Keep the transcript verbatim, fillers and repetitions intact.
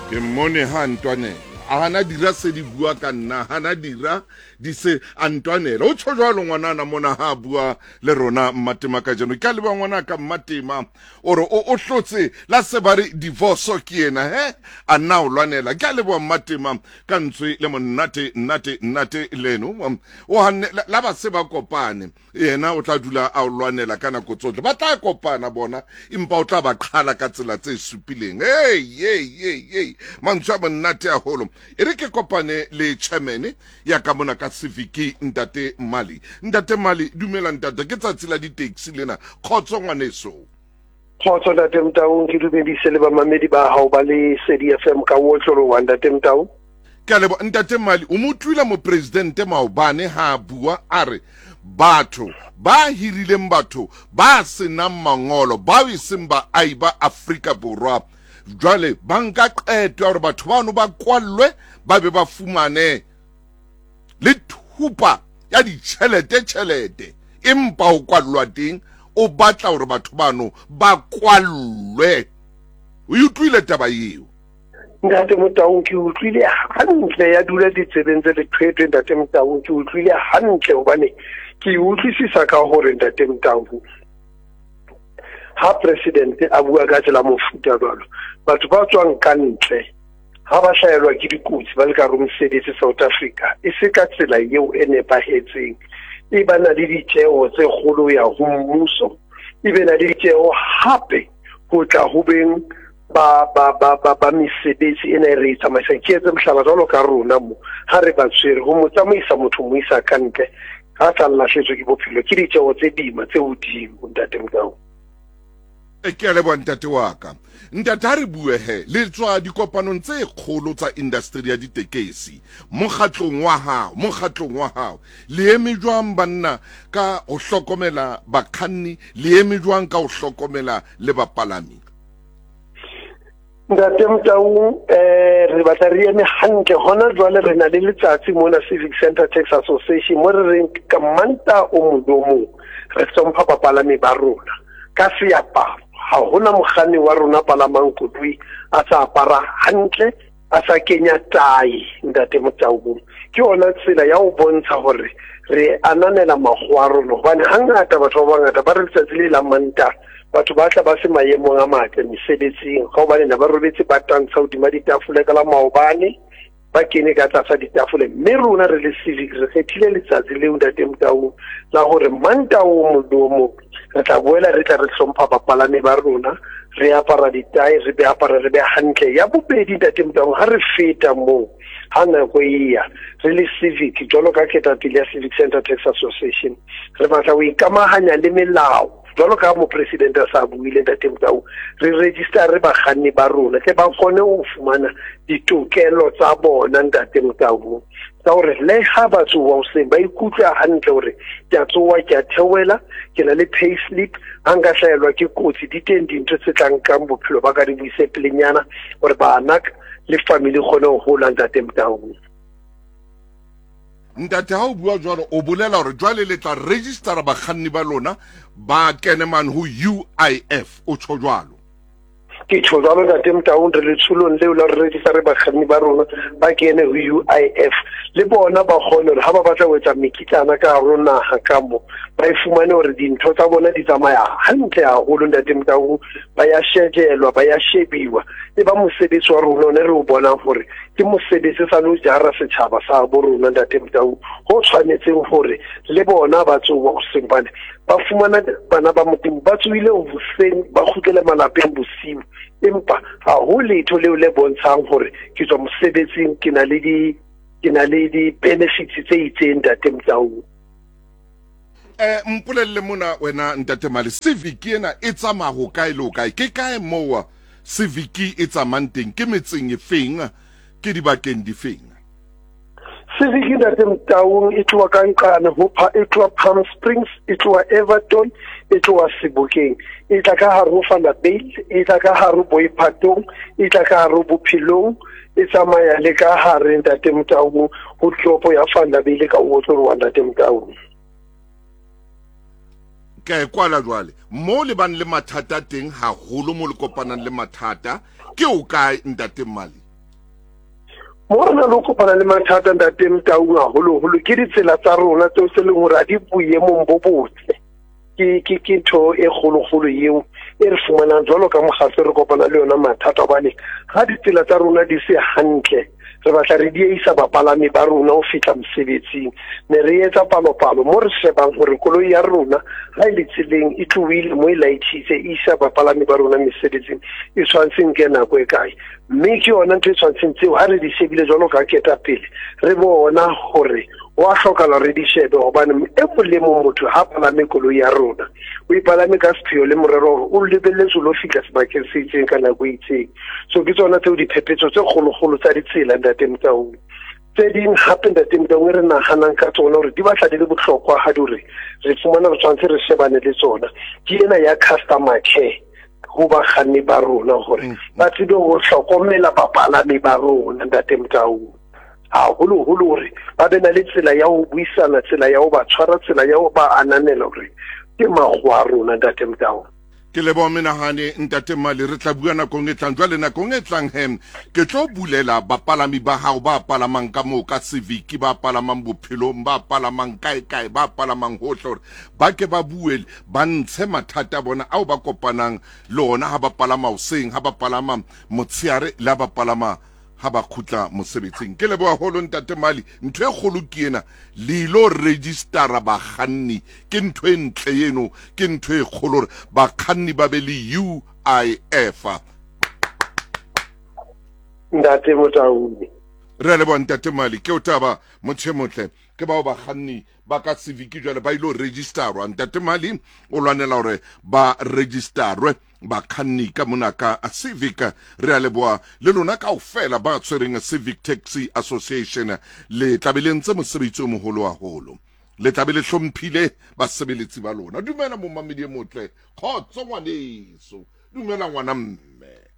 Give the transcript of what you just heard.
Ke mmone ha ntwanela, a hana dira se di bua ka nna, hana dira di se a ntwanela. O tjho jwalo ngwanana mona ha bua le rona Mmatema kajeno. Ke a leboha ngwana ka Mmatema, o re o o hlotse la se ba re divorce ke yena he a nna o lwanela. Ke a leboha Mmatema ka ntswe le monate nate nate leno. O hanne la ba se ba kopane, yena o tla dula a o lwanela ka nako tsohle. Ba tla kopana bona, empa o tla ba qhala ka tsela tse supileng. Hey, hey, hey, hey, mantswe a monate haholo. E re ke kopane le chairman ya ka mona ka Civic, Ntate Mali. Ntate Mali, dumela ntate, ke tsatsi la di-taxi lena. Kgotso ngwaneso. Kgotso Ntate Motaung, ke dumedise le bamamedi ba hao ba le Sedi F M ka otloloha Ntate Motaung. Ke a leboha Ntate Mali. O mo utlwile mopresidente maobane ha a bua a re batho ba hirileng batho ba senang mangolo, bao e seng baahi ba Afrika Borwa, jwale ba nka qeto ya hore batho bano ba kwallwe, ba be ba fumane le thupa ya ditjhelete tjhelete, empa ho kwallwa teng o batla hore batho bano ba kwallwe. O utlwile taba eo? Ntate Motaung, ke utlwile hantle, ya dula ditsebeng tse lethwethwe Ntate Motaung, ke utlwile hantle hobane ke utlwisisa ka hore Ntate Motaung ha president a bua ka tsela mofuta jwalo, batho ba tswang ka ntle ha ba hlahelwa ke dikotsi ba le ka hare mosebetsi South Africa, e se ka tsela eo e nepahetseng, e ba na le ditjeho tse kgolo ya ho mmuso, e be na le ditjeho hape ho tla ho beng ba ba ba ba ba mesebetsi ena e re e tsamaisang. Ke etse mohlala jwalo ka rona mo, ha re ba tshwere ho mo tsamaisa motho mo isa ka ntle, ha sa lahletswe ke bophelo, ke ditjeho tse boima tse hodimo Ntate Motaung. E ke a leboha ntate wa ka. Ntate, ha re bue he, le tswa dikopanong tse kgolo tsa industry ya ditekesi mokgatlong wa hao, mokgatlong wa hao le eme jwang banna ka ho hlokomela bakganni, le eme jwang ka ho hlokomela le bapalami? Ntate Motaung, eh re batla re eme hantle hona jwale. Re na le letsatsi mona Civic Center Tax Association mo re reng ka Manta o mong le o mong re hlompha bapalami ba rona ka seaparo. Ha hona mokganni wa rona palamang koloi a sa apara hantle, a sa kenya tae Ntate Motaung. Ke yona tsela ya ho bontsha hore re ananela makgowa a rona, hobane hangata batho ba bangata ba re letsatsi le la Manta batho ba tla ba se maemong a matle mesebetsing, ka hobane ne ba robetse ba tantsha hodima ditafole ka la maobane, ba kene ka tlasa ditafole. Mme rona re le Civic re kgethile letsatsi leo Ntate Motaung la hore Manta o mong le o mong re tla boela re tla re hlompha bapalami ba rona, re apara ditae, re be apara re be hantle. Ya bobedi Ntate Motaung, ha re feta moo ha nako e ya re le Civic jwalo ka ketapele ya Civic Center Tax Association, re batla ho ikamahanya le melao jwalo ka mopresidente a sa buile Ntate Motaung. Re register re bakganni ba rona tle ba kgone ho fumana ditokelo tsa bona Ntate Motaung, tsa hore le ha ba tsoha hoseng ba ikutlwe hantle hore ke a tsoha, ke a theohela, ke na le pay slip, ha nka hlahelwa ke kotsi di teng dintho tse tla nkang bophelo ba ka di buise pelenyana hore bana le family kgone ho hola Ntate Motaung. Ntate, ha o bua jwalo o bolela hore jwale le tla registera bakganni ba lona ba kene mane ho U I F, o tjho jwalo? Ke tjho jwalo Ntate Motaung, re letsholong leo la re register bakganni ba rona ba kene ho U I F, le bona ba kgone hore ha ba batla ho etsa mekitlana ka hare ho naha ka mo, ba e fumane hore dintho tsa bona di tsamaya hantle haholo Ntate Motaung, ba ya shejelwa, ba ya shebiwa. E ba mosebetsi wa rona one re o bonang hore ke mosebetsi sa lo jara setjhaba sa bo rona Ntate Motaung, ho tshwanetseng hore le bona ba tsoha hoseng bane ba fumana bana ba Modimo ba tsohile hoseng ba kgutlele malapeng bosiu, empa ha ho letho leo le bontshang hore ke tswa mosebetsing, ke na le di, ke na le di-benefits tse itseng Ntate Motaung. Eh, mpolelle mona wena Ntate Mali, Civic ena e tsamaya ho kae le ho kae? Ke kae moo Civic e tsamayang teng? Ke metseng e feng? Ke dibakeng difeng? Civic Ntate Motaung e tloha ka nqane ho Pa-, e tloha Palm Springs, e tloha Everton, e tloha Sebokeng, e tla ka hare ho Vanderbijl, e tla ka hare ho Boipatong, e tla ka hare ho Bophelong, e tsamaya le ka hare Ntate Motaung ho toropo ya Vanderbijl ka ho otloloha Ntate Motaung. Ke a e kwala jwale. Mo le bang le mathata teng haholo, mo le kopanang le mathata, ke o kae Ntate Mali? Mo re na le ho kopana le mathata ntate Motaung haholoholo ke ditsela tsa rona tseo se leng hore ha di boemong bo botle. Ke ke ke ntho e kgolokgolo eo e re fumanang jwalo ka mokgatlo re kopana le yona mathata, hobane ha ditsela tsa rona di se hantle re batla re dieisa bapalami ba rona ho fihla mosebetsing. Ne re etsa palopalo mo re shebang hore koloi ya rona ha e le tseleng e tlohile mo e laetjhitse e isa bapalami ba rona mesebetsing e tshwanetse nke nako e kae. Mme ke yona ntho e tshwanetseng tseo ha re di shebile jwalo ka ketapele re bona hore wa hlokahala re di shebe, hobane e mong le mong motho ha palame koloi ya rona o ipalame ka sepheo le morero hore o lebelletse o lo fihla sebakeng se itseng ka nako e itseng. So ke tsona tseo diphephetso tse kgolokgolo tsa ditsela ntate Motaung. Tse ding hape ntate Motaung e re nahanang ka tsona hore di batla di le bohlokwa ha di hore re fumana re tshwanetse re shebane le tsona ke ena ya customer care ho bakganni ba rona hore ba tsebe ho hlokomela bapalami ba rona ntate Motaung, haholoholo hore ba be na le tsela ya ho buisana, tsela ya ho ba tshwara, tsela ya ho ba ananela hore ke makgowa a rona ntate Motaung. Ke leboha menahane ntate Mali, re tla bua nakong e tlang. Jwale nakong e tlang he ke tlo bulela bapalami ba hao ba palamang ka moo ka Civic, ba palamang bophelong, ba palamang kae kae, ba palamang hohle, hore ba ke ba bue ba ntshe mathata a bona ao ba kopanang le ona ha ba palama hoseng, ha ba palama motshehare le ha ba palama ha ba kgutla mosebetsing. Ke leboha haholo ntate Mali. Ntho e kgolo ke ena, le ilo registera bakganni, ke ntho e ntle eno, ke ntho e kgolo hore bakganni ba be le U I F. Ntate Motaung, re a leboha ntate Mali. Ke o taba motho e motle ke bao bakganni ba ka Civic jwale ba ilo registerwa. Ntate Mali o lwanela hore ba registerwe bakganni ka mona ka Civic. Re a leboha le lona kaofela ba tshwereng Civic Taxi Association, le tlabe le ntse mosebetsi o moholo haholo, le tlabe le hlomphile basebeletsi ba lona. Dumela momamedi e motle, kgotso ngwaneso, dumela ngwana mme.